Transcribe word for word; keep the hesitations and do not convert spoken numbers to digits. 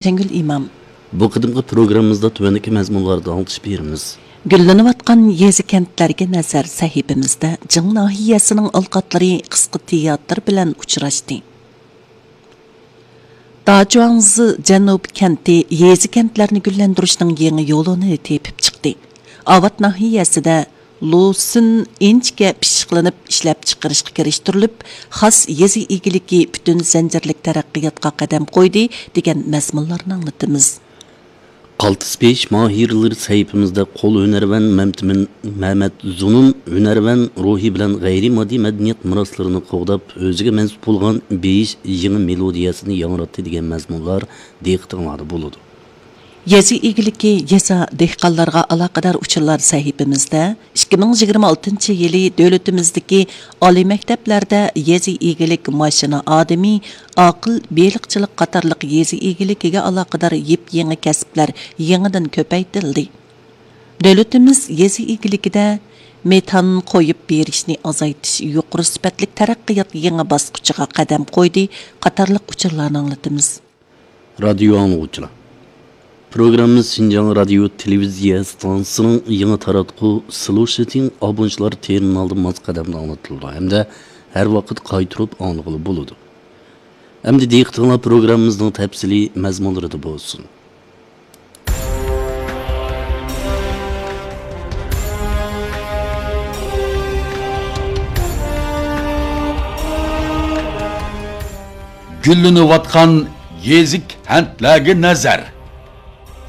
ئايشەنگۈل ئىمام. بۇ قېتىمقى پروگراممىمىزدا تۆۋەندىكى مەزمۇنلاردا ئاڭلىتىش بېرىمىز. گۈللىنىۋاتقان يېزا-كەنتلەرگە نەزەر سەھىپىمىزدە جىڭ ناھىيەسىنىڭ ئالقاتلىرى قىسقا تىياتىر بىلەن ئۇچراشتى. داجۇاڭزى جەنۇب كەنتى يېزا-كەنتلەرنى گۈللەندۈرۈشنىڭ يېڭى يولىنى تېپىپ چىقتى. ئاۋات ناھىيەسىدە لۇسۈن ئىنچىكە پىششىقلىنىپ ئىشلەپچىقىرىشقا كىرىشتۈرۈلۈپ، خاس يېزا ئىگىلىكى پۈتۈن زەنجىرلىك تەرەققىياتقا قەدەم قويدى، دېگەن مەزمۇنلارنى ئاڭلىتىمىز. قالتىس پېيىش ماھىرلىرى سەھىپىمىزدە قول ھۈنەرۋەن مەمتىمىن مەمەت زۇنۇن ھۈنەرۋەن روھى بىلەن غەيرىي ماددىي مەدەنىيەت مىراسلىرىنى قوغداپ، ئۆزىگە مەنسۇپ بولغان بېيىش يېڭى مېلودىيەسىنى ياڭراتتى، دېگەن مەزمۇنلار دىققىتىڭلاردا بولىدۇ. يېزا ئىگىلىكى، يېزا، دېھقانلارغا ئالاقىدار ئۇچۇرلار سەھىپىمىزدە ئىككى مىڭ يىگىرمە ئالتىنچى يىلى دۆلىتىمىزدىكى ئالىي مەكتەپلەردە يېزا ئىگىلىك ماشىنا ئادىمى، ئاقىل بېلىقچىلىق قاتارلىق يېزا ئىگىلىكىگە ئالاقىدار يېپيېڭى كەسىپلەر يېڭىدىن كۆپەيتىلدى. دۆلىتىمىز يېزا ئىگىلىكىدە مېتان قويۇپ بېرىشنى ئازايتىش، يۇقىرى سۈپەتلىك تەرەققىيات يېڭى باسقۇچىغا قەدەم قويدى قاتارلىق ئۇچۇرلارنى ئاڭلىتىمىز. رادىيو ئاڭلىغۇچىلار، پروگراممىمىز شىنجاڭ رادىيو تېلېۋىزىيە ئىستانسىسىنىڭ يېڭى تاراتقۇ سلۇشىتىڭ ئابونچىلار تېرمىنالىدا ماس قەدەمدە ئاڭلىتىلىدۇ ھەمدە ھەر ۋاقىت قايتۇرۇپ ئاڭلىغىلى بولىدۇ. ئەمدى دىققىتىڭلار پروگراممىمىزنىڭ تەپسىلىي مەزمۇنلىرىدا بولسۇن. گۈللىنىۋاتقان يېزا كەنتلەرگە نەزەر.